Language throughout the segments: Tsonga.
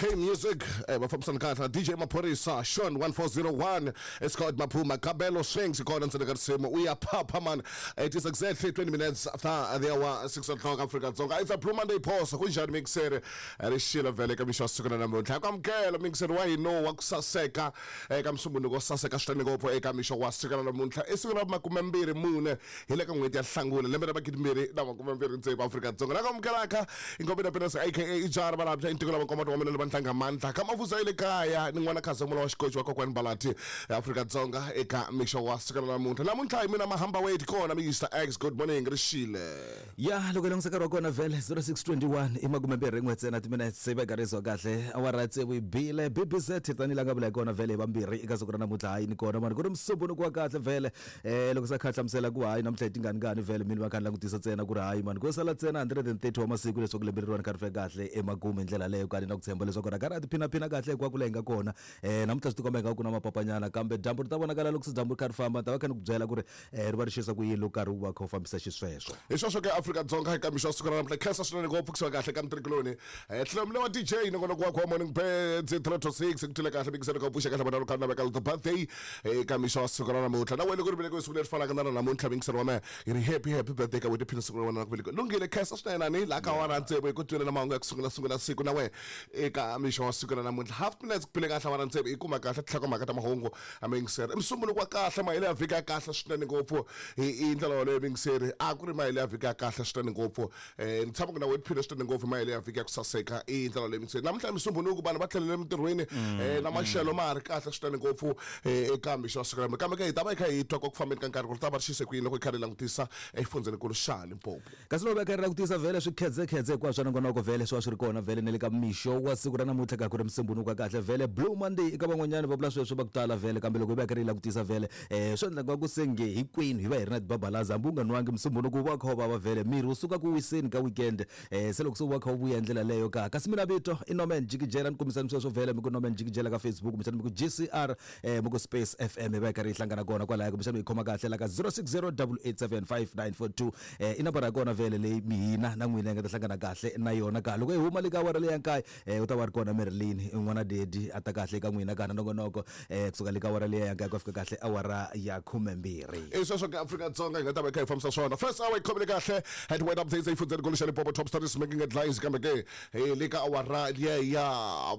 K Music va fambisana kahle na DJ Maphorisa Sean 1401. It's called Maphuma Kabelo Swings kona ntsena ka risimu uyaphapha man. It is exactly 20 minutes after the hour 6 o'clock Afrika Dzonga. It's a Blue Monday pause kunjani mixer rixilo vhele ka mixo wa siku na namuntlha ku amukela mixer wa hina wa ku saseka eka musumbunuko wo saseka swinene ngopfu eka mixo wa siku na namuntlha i siku ra 24 hi le ka n'hweti ya Hlangula lembe ra 2026 Afrika-Dzonga la ku amukelaka inkomi na Penas aka Ijara Valabya i ntiko lava nkomato wa mina lava ntlanga mandla ka mavuza ya le kaya ni n'wana khazamula wa xikoci wa kokwani Balati Afrika-Dzonga eka mixo wa siku ra namuntlha. Namuntlha hi mina Mahamba Wade kona Mister X. Good morning rixile. Ya loko hi langutisa nkarhi wa kona vhele 0621 i 21 ntsena timinetse se va karhi kahle awara tsevu yi bile BBZ tanihi la nga vula hi kona vhele hi vambirhi eka siku ra namuntlha hayi ni kona mani ku ri musumbhunuku wa kahle vhele Loko se a kha a hlamusela ku hayi namuntlha i tingani ngani vhele mina va kha ni langutisa ntsena ku ri hayi mani ko sala ntsena 130 wa masiku leswaku lembe leriwani kha ri fika kahle emakumu hi ndlela leyo kani na ku tshemba leswaku ra karhi a tiphinaphina kahle hinkwako la hi nga kona. Namuntlha swi tikomba ingaku ku na mapapanyana kambe dyambu ri ta vonakala loko se dyambu ri kha ri famba ni ta va kha ni ku byela ku ri ri va ri xisa ku yini loko karhi wu va kha wu fambisa xisweswo. Hi sweswo ke Afrika-Dzonga eka mixo wa siku ra namuntlha khensa swinene ngopfu kusuka kahle ka mutirhikuloni. Tlhelo wa DJ nongonoko wa Morning Birds 3 to 6 ku twile kahle mikiselo ka pfuxa kahle vana loko na veka the birthday eka mixo wa siku ra namuntlha na wena ku ri velekiwe siku leri fanaka na ra namuntlha mingiselo wa mehe hi ri happy happy birthday ka wena tiphina siku ra wena ra ku velekiwa lunghile khensa swinene ani laha ka awara tsevu hi ku twile na mahungu ya ku sungula sungula siku na wena eka mixo wa siku ra namuntlha half minutes ku phile kahle awara tsevu hi kuma kahle tinhlokomhaka ta mahungu a mingiseri i musumbuluko wa kahle mahelo ya vhiki ya kahle swinene ngopfu hi ndlela yoleyo mingiseri a ku ri mahelo ya vhiki ya kahle swinene ngopfu. Ni tshama ku na wena tiphina swinene ngopfu hi mahelo ya vhiki ya ku saseka i ndlela leyi mingiseri namuntlha musumbhunuku vanhu va tlhelele emintirhweni na maxelo ma ha ri kahle swinene ngopfu eka mixo wa siku ra kambe ke hi ta va hi kha hi twa ku fambeni ka nkarhi ku ri ta va ri xise ku yini loko hi kha ri langutisa exifundzhenikulu xa Limpopo. Kasi loko va kha ri langutisa vhele swikhedzekhedze hinkwaswo swa nongonoko vhele swi va swi ri kona vhele na le ka mixo wa siku ra namuntlha ka ku ri musumbhunuku wa kahle vhele Blue Monday eka van'wanyana va vula sweswo va ku tala vhele kambe loko hi va hi kha ri yi langutisa vhele Swi endla nga ku se nge hinkwenu hi va hi ri na tibabalaza hambi u nga nwangi musumbhunuku wu va wu kha wu vava vhele miri wu suka ku wiseni ka weekend se loko se wu va kha wu vuya hi ndlela leyo ka kasi mina vito i Norman Jikijela ni kombisani sweswo vhele mi ku Norman Jikijela ka Facebook kumbexana mi ku GCR mi ku Space FM hi va hi karhi hi hlangana kona kwalaya kumbexana mi yi khoma kahle la ka 060 887 5942 i nambara ya kona vhele leyi mi hina na n'wina hi nga ta hlangana kahle na yona ka loko hi huma le ka awara leyi ya nkaye U ta va ri kona Marilyn n'wana daddy a ta kahle eka n'wina ka na nongonoko kusuka le ka awara liya ya nkaye ku ya fika kahle awara ya khumembirhi. I sweswo ke Afrika-Dzonga hi nga ta va hi kha hi fambisa swona. First hour yi khomile kahle at Word Updates exifundzheni nkulu xa Limpopo top stories making headlines kambe ke hi le ka awara liya ya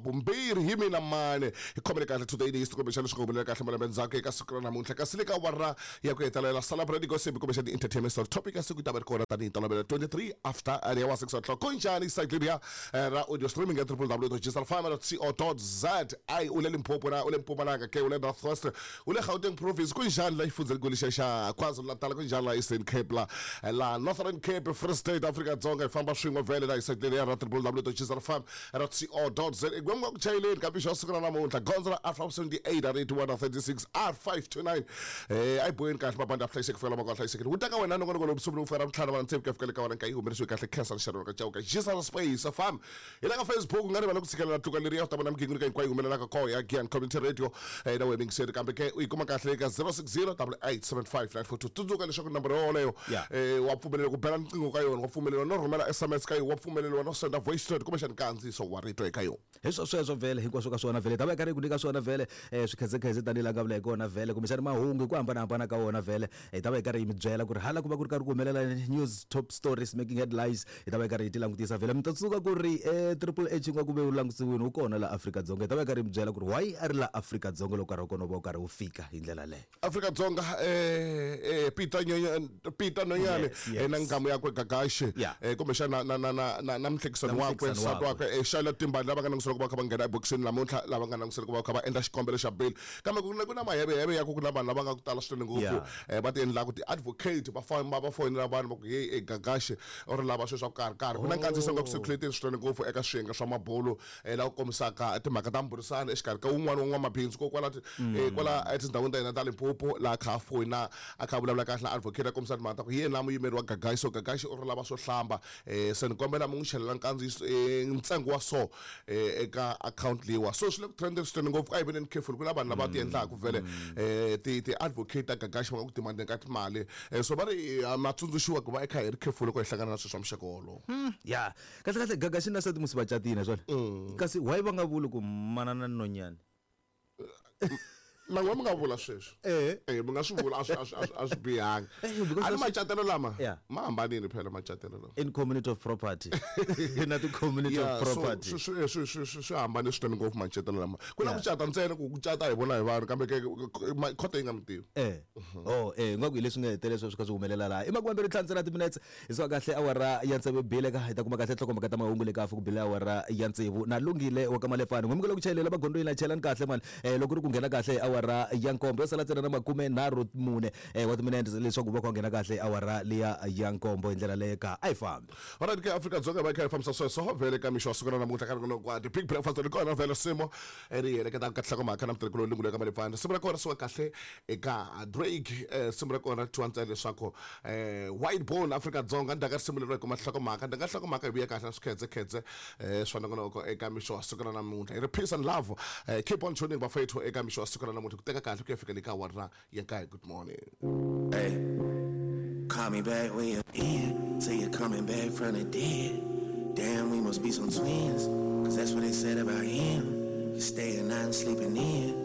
vumbirhi hi mina mani hi khomile kahle to the list kumbexana swi nga humelela kahle malembe ndzhaku eka siku ra namuntlha kasi le ka awara ya ku hetelela celebrate gossip kumbexana entertainment story topic ya siku yi ta va ri kona tanihi ntolovelo 23 after ya wa 6 o'clock kunjhani site leriya ra audio streaming ya www.gsrfarmer.co.za u le Limpopo na u le Mpumalanga ke u le North West u le Gauteng province kunjhani la xifundzhenikulu xa xa KwaZulu-Natal kunjhani la Eastern Cape la la Northern Cape Free State Afrika Dzonga hi famba swin'we vhele la hi site ya ra www.gsrfarmer.co.za gwemwa ku chayeleni ka mixo wa siku ra namuntlha gondzo ra R578 R81 R36 R529 a yi boheni kahle mabandi a hlayiseki fikela mako a hlayisekile wu ta ka wena nongonoko lowu vusumbuluko fika ra vutlhanu va ntsevu ku ya fikela ka wena nkayi humelerisiwe kahle khensa rixaka ka Chauke Jesus Space FM hi la ka Facebook u nga rivali ku tshikelela tluka leriya u ta vona migingiriko hinkwayo yi humelelaka koho ya Giyani Community Radio na wena yingiseri kambe ke u yi kuma kahle eka 060 8875942 tsundzuka leswaku nomboro yoleyo wa pfumeleriwa ku bela riqingho ka yona wa pfumeleriwa no rhumela SMS ka yona wa pfumeleriwa no senda voice note kumbexani nkandziyiso wa rito eka yona. Hi swo sweswo vhele hinkwaswo ka swona vhele hi ta va hi karhi hi ku nyika swona vhele swikhedzekhedze tanihi laha nga vula hi kona vhele kumbexana mahungu hi ku hambanahambana ka wona vhele hi ta va hi karhi hi mi byela ku ri hala ku va ku ri karhi ku humelela news top stories making headlines hi ta va hi karhi hi ti langutisa vhele mi ta tsundzuka ku ri Triple H nga ku ve u langutisiwini wu kona laha Afrika-Dzonga hi ta va hi karhi hi mi byela ku ri why a ri laha Afrika-Dzonga loko nkarhi wa kona wu va wu karhi wu fika hi ndlela leyo. Afrika-Dzonga Peter Nyenyane Peter Nonyane Yes, yes. na nghamu yakwe Gagashi Yeah. kumbexana na na na na na muhlekisani Na wakwe muhlekisani nsati wakwe. wakwe Charlotte Timbani lava nga langutisela ku va kha va nghena ebokisini namuntlha lava nga langutisela ku va kha va endla xikombelo xa bail kambe ku na ku na maheveheve ya ku ku na vanhu lava nga ku tala swinene ngopfu Yeah. va ti endlaka ti-advocate va famba va foyinela vanhu va ku heyi Gagashi u ri lava swilo swa ku karhi karhi ku na nkandziyiso nga ku circulate swinene ngopfu eka swiyenge swa mabulu laha ku kombisaka timhaka ta mbhurisano exikarhi ka wun'wana wa n'wamabindzu ko kwala kwala etindhawini ta hina ta Limpopo laha kha a foyina a kha a vulavula kahle na advocate a kombisa timhaka ta ku hi yena muyimeri wa Gagashi so Gagashi u ri lava swo hlamba se ni kombela mi n'wi chelela nkandziyiso ntsengo wa so eka account leyiwa so swi le ku trendeni swinene ngopfu a hi veneni careful ku na vanhu lava ti endlaka vhele ti ti-advocate ta Gagashi va nga ku demandeni ka timali so va ri ma tsundzuxiwa ku va i kha hi ri careful loko hi hlangana na swilo swa muxaka wolowo. Ya kahle kahle Gagashi na nsati musi va catile swona. Kasi why va nga vuli ku manana nonyani? Na n'we mi nga vula sweswo. Eh. Eh, mi nga swi vula, a swi a swi a swi- a swi bihanga. Eh, because A ni that's- macatelo lama Yeah. ma hambanile phela macatelo lama. In community of property. Na ti-community Yeah, of so property. swi hambane swinene ngopfu macatelo lama. Ku na Yeah. ku cata ntsena, ku cata hi vona hi vanhu, kambe ke khoto yi nga mi tivi. Eh. Oh, eh, ngaku hi leswi nga hetelela sweswo swi kha swi humelela laha. I makume mbirhi ntlhanu ntsena timinetse. Hi suka kahle awara ya tsevu bile ka hi ta kuma kahle nhlokomhaka ta mahungu le ka ku bile awara ya tsevu. Na lunghile wa ka Malepfani. N'wi mukela ku chayelela magondzweni na chelani kahle mani. Eh, loko ri ku nghena kahle awara ya nkombo yo sala ntsena na makume nharhu mune wa timinete leswaku va ku nghena kahle awara liya ya nkombo hi ndlela leyo ka a yi fambi. Alright ke, Afrika-Dzonga va kha yi fambisa sweswo vhele ka mixo wa siku ra namuntlha ka rin'wana kwa the big breakfast ri kona vhele simo ri heleketaka ka nhlokomhaka na mutirhikulu lungule ka Malepfani. Risimu ra kona ri suka kahle eka Drake. Risimu ra kona ri thyiwa ntsena leswaku White Bone. Afrika-Dzonga ndzhaku ka risimu leri hi kuma nhlokomhaka, ndzhaku ka nhlokomhaka hi vuya kahle na swikhedzekhedze swa nongonoko eka mixo wa siku ra namuntlha. Hi ri peace and love, keep on tuning bafethu eka mixo wa siku ra namuntlha ku teka kahle ku ya fika le ka awara ya kaye. Good morning. Hey, call me back when you're in. Say you're coming back from the dead. Damn, we must be some twins. 'Cause that's what they said about him. You staying out and sleeping in.